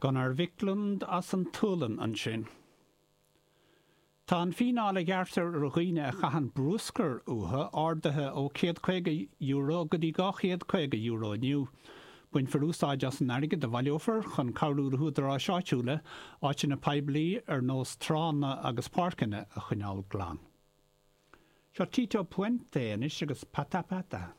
Gunnar Viklund as an tSualainn ansin. Tá an fíneáil a ghearrtar ar dhaoine a chaitheann bruscar uathu ardaithe ó €150 go dtí €250 inniu. Bainfear úsáid as an airgead a bhaileofar chun cabhrú le húdaráis áitiúla áiteanna poiblí ar nós tránna agus páirceanna a choinneáil glan. Seo Tito Puente anois agus Pata Pata.